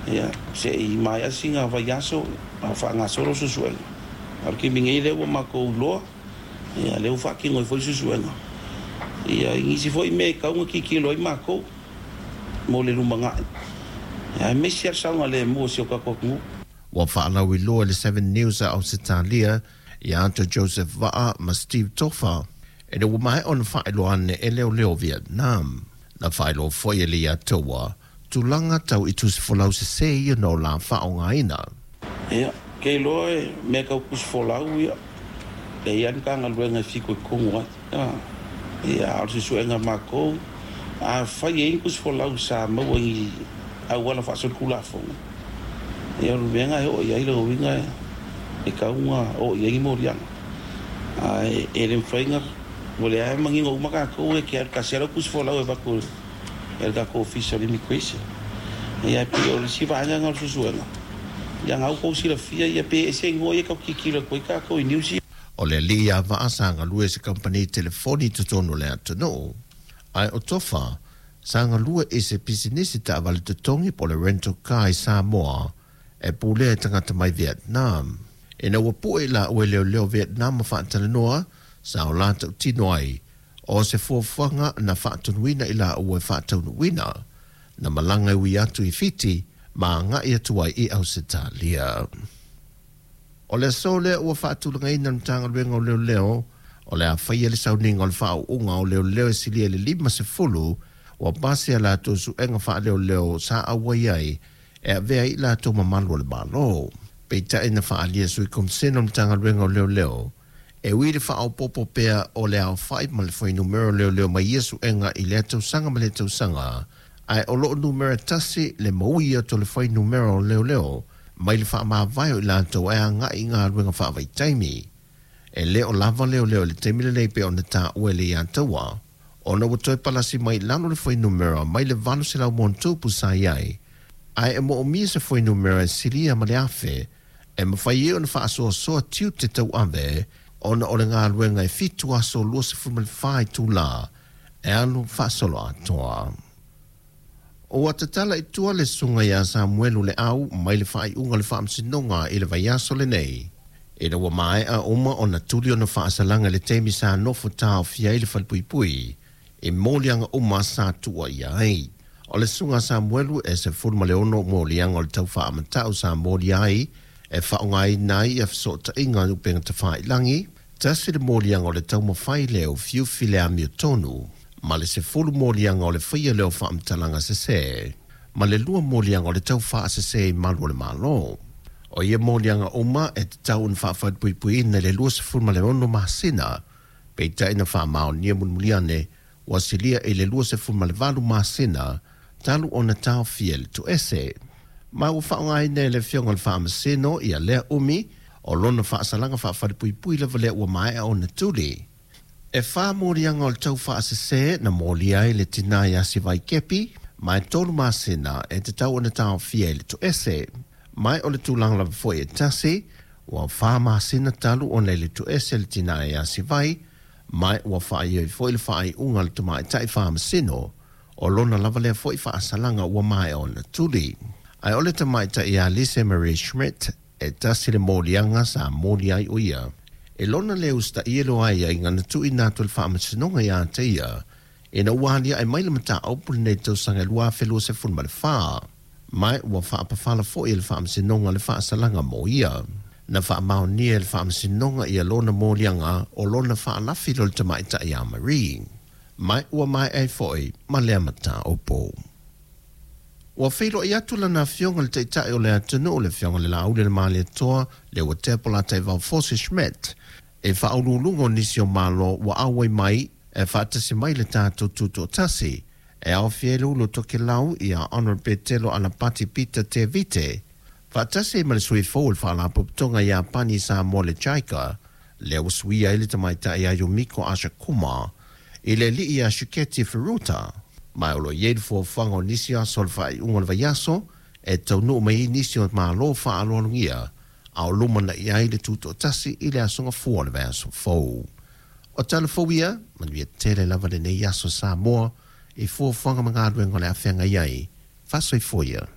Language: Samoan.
Ia, se i maea sina vaiaso a o faagasolo suesuega. A o le taimi nei lea ua matou iloa, ia lea ua faatino ai foi suesuega. Ia, i nisi foi mea e tatau ona tilotilo ai matou mo le lumanai, aemaise lava le saogalemu o si o tatou atunuu. Ua faalauiloa e le Seven News a Ausetalia ia te Joseph Vaa ma Steve Tofa ina ua maea ona faailoa ane e leoleo o Vietnam. Na faailoa foi e le Iataua tulaga tau i tusi folau sesē ia na o la faaaogaina. Ia, ou te iloa e mea tau tusi folau ia, e i ai lava le Matagaluega e fitoitonu ai. Ia, a o le suesuega a matou, afai e i ai ni tusi folau sa maua i ni auala faasolitulafono, ia o le mea lena e oo i ai lona uiga e tatau ona oo i ai ni moliaga. Ae e le mafai ona, o lea e manino uma tatou e te alu tasi lava lau tusi folau e avatu e le tatou Ofisa o le Immigration. Ia e pei o le isi vaega lena o le suesuega, ia na ua outou silafia ia pe ese igoa ia tatou te tilotilo atu ai tatou i news ia. O le alii ia Vaa sa galue i se kamupani telefoni i totonu o le atunuu. Ae o Tofa, sa galue i se pisinisi taavale totogi po o le rental car i Samoa e pulea e tagata mai Vietnam. Ina ua pue i laua e leoleo Vietnam ma faatalanoa, sa o la tautino ai o se fuafuaga na faatonuina i laua e faataunuuina, na malaga e ui atu i Fiti ma agai atu ai i Ausetalia. O le aso lea ua faatulagaina e le Matagaluega o Leoleo o le a faia le sauniga o le faauuga o leoleo e silia i le 50 ua pasi a latou suega faaleoleo sa auai ai e avea ai i latou ma malu o le Malo. Peitai na faaalia e Sui Komisena o le Matagaluega o Leoleo e ui i le faaopoopo pea o le aofai ma le fuainumera o leoleo mai ia suega i lea tausaga ma lea tausaga, ae o lo o numera tasi le maui atu o le fuainumera o leoleo mai le faamavae o i latou e agai i galuega faavaitaimi. E le o lava leoleo i le taimi lenei pei ona taua e le Iataua, ona ua toe palasi mai i lalo le fuainumera mai le 800+ sa i ai, ae e moomia se fuainumera e silia ma le 1,000 e mafai ai ona faasoasoa tiute tauave ona o le galuega e 7 aso 24 itula e alu faasoloatoa. Ua tatala i tua le susuga ia Samuelu Leau mai le faaiuga o le Faamasinoga i le vaiaso lenei, ina ua maea uma ona tuli ona faasalaga i le taimi sa nofo taofia ai le falepuipui i moliaga uma sa tuuaia ai. O le susuga a Samuelu e 16 moliaga o le tau faamatau sa molia ai e faaaogaina ai ia fesootaiga i upega tafailagi, tasi le moliaga o le taumafai lea ufiufi le amiotonu, ma le 10 moliaga o le faia lea o faamatalaga sesē, ma le 2 moliaga o le tau faasesē i malu o le Malo. O ia moliaga uma e tatau ona faafalepuipuiina i le 26 masina, peitai na faamaonia mulimuli ane ua silia i le 28 masina talu ona taofia i le toese. Ma ua faaaogaina e le Afioga i le Faamasino ia lea umi o lona faasalaga faafalepuipui lava lea ua maea ona tuli. E 4 moliaga o le tau faasesē na molia ai le tinā ia Sivai Kepi, ma e 3 masina e tatau ona taofia i le toese. Ma o le tulaga lava foi e tasi, ua 4 masina talu ona i le toese le tinā ia Sivai, ma ua faaioi foi le faaiuga a le tamaitai faamasino o lona lava lea foi faasalaga ua maea ona tuli. Ae o le tamaitai ia Lise Marie Schmidt e tasi le moliaga sa molia ai o ia. E lona le usitaia le o aiaiga na tuuina atu e le Faamasinoga ia te ia ina ua aliae mai le mataupu i lenei tausaga e 2024, ma ua faapafala foi e le Faamasinoga le faasalaga mo ia. Na faamaonia e le Faamasinoga ia lona moliaga o lona faalafi lea o le tamaitai ia Marie, ma ua maea ai foi ma lea mataupu. Ua feiloai atu lana afioga i le Taitai o le atunuu, le Afioga i le Laauli o le Malietoa, Leuatea Polataivao Fosi Schmidt, e faauluuluga o nisi o Malo ua auai mai e faatasi mai le tatou tutoatasi, e aofia ai le ulu o Tokelau ia Honourable Petelo Alapati Peter Tevite, faatasi ai ma le sui fou o le Faalapotopotoga Iapani i Samoa le JICA, lea ua suia ai le tamaitai ia Yumiko Asakuma i le alii ia Shiketi Furuta. Ma o lo o i ai le fuafuaga o nisi aso o le faaiuga o le vaiaso e taunuu mai ai nisi o Malo faaaloalogia a o lumanai ai le tutoatasi i le aso Gafua o le vaiaso fou. O tala fou ia, manuia tele lava lenei aso Samoa i fuafuaga ma galuega o le a feagai ai. Faasoifua ia.